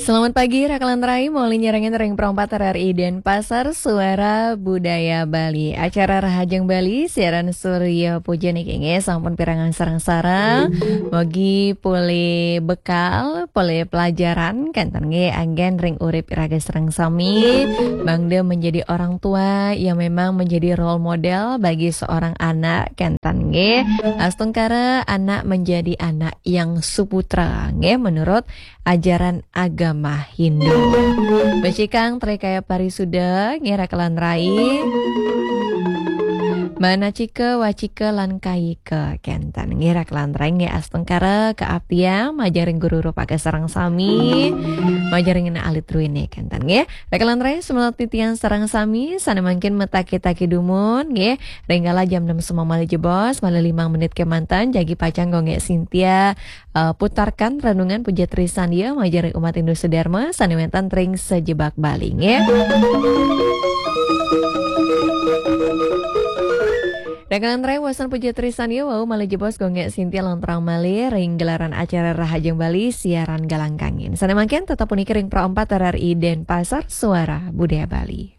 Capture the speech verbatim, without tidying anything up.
Selamat pagi, Rakalan Rai, maulinya rangin ring Pro empat R R I Denpasar, Suara Budaya Bali. Acara Rahajeng Bali, siaran Surya Puja niki nggih, sampun pirengang sareng-sareng. Mugi polih bekal, polih pelajaran, kenten nggih, anggen ring urip iraga sareng sami. Mangda menjadi orang tua yang memang menjadi role model bagi seorang anak, kenten nggih. Astungkara anak menjadi anak yang suputra, nggih, menurut ajaran agama Hindu. Becikang trekaya parisuda, nggih, Rakalan Rai. Manacika, wacika, lan kayika, kenten, nggih, Rakalan Rai, nggih, astungkara kaaptiang majeng ring guru rupaka sareng sami, majeng ring anak alit druene, kenten, nggih. Rakalan Rai, semeton titiang sareng sami, sane mangkin mataki-taki dumun, nggih, ring kala jam enam semeng malih jebos, malih limang menit kemanten, jagi pacang Gung Gek Sintia eh, putarkan renungan puja trisandia majeng ring umat Hindu sedherma sane wenten ring sajebag Bali, nggih. Rakalan Rai, wasan puja trisandia wau malih jebos Gung Gek Sintia lanturang malih ring gelaran acara Rahajeng Bali siaran Galang Kangin. Sane mangkin tetep puniki ring Pro empat R R I Denpasar, Suara Budaya Bali.